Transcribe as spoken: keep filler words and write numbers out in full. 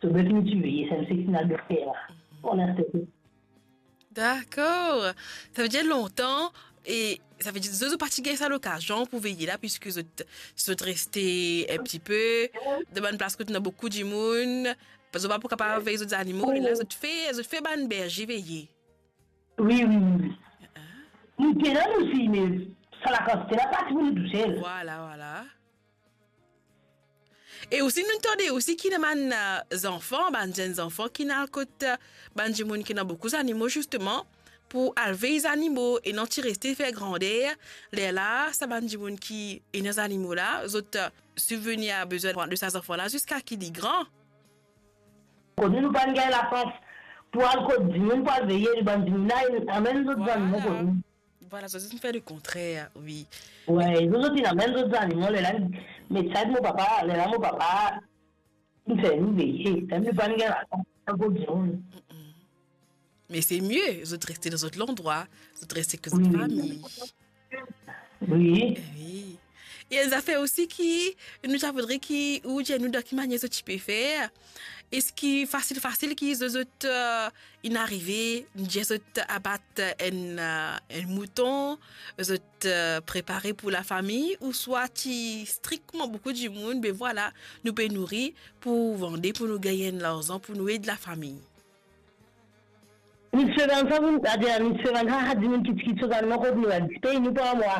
So, bef nou ti veye, sa enn seki nou al fer la. Pou linstan. Dakor. Savedir lontan, e savedir zot, zot pa ti gagn sa lokazion pou veye la, piski zot, zot reste enn tipe dan bann plas kot ena boukou dimoun, zot pa pou kapav vey zot zanimo, e la zot fer, zot fer bann berze veye. Wi, wi, wi, wi. Nou ti ena nou osi, me sa lakantite la pa ti pou nou tousel. Vwala, vwala. E osi nou tande osi ki ena bann, eh, zanfan, bann zenn zanfan ki al kot, eh, bann dimoun ki ena boukou zanimo, zisteman, pou al vey zanimo e non ti reste fer grander. Lerla, sa bann dimoun ki ena zanimo la, zot, eh, sibvenir a bezwin de sa zanfan la ziska ki li gran. Kot nou, nou pa'nn gagn lasans pou al kot dimoun, pou al veye bann dimoun la, amenn zot zanimo kot nou. Vwala, zot, zot inn fer lekontrer, wi. Wi, zot, zot inn amenn zot zanimo, lerla, met sa mo papa, lerla mo papa inn fer nou veye, lerla nou pa'nn gagn lasans al kot dimoun. Me se mie, zot reste dan zot landrwa, zot reste ek zot fami. Wi. Wi. E enn zafer osi ki nou ti a voudre ki ou dir nou dan ki manier zot ti pe fer. Eski fasil, fasil ki zot, zot, eh, inn arive, nou dir zot abat enn, eh, enn mouton, zot, eh, prepare pou lafami, ouswa ti strikteman boukou dimoun, be vwala, nou pe nouri pou vande, pou nou gagn enn larzan, pou nou ed lafami? Nou ti fer bann sa, pou, adir, nou ti fer bann sa, sa dimoun ki, ki ti sot dan nou kot nou, la, ti pey nou par mwa.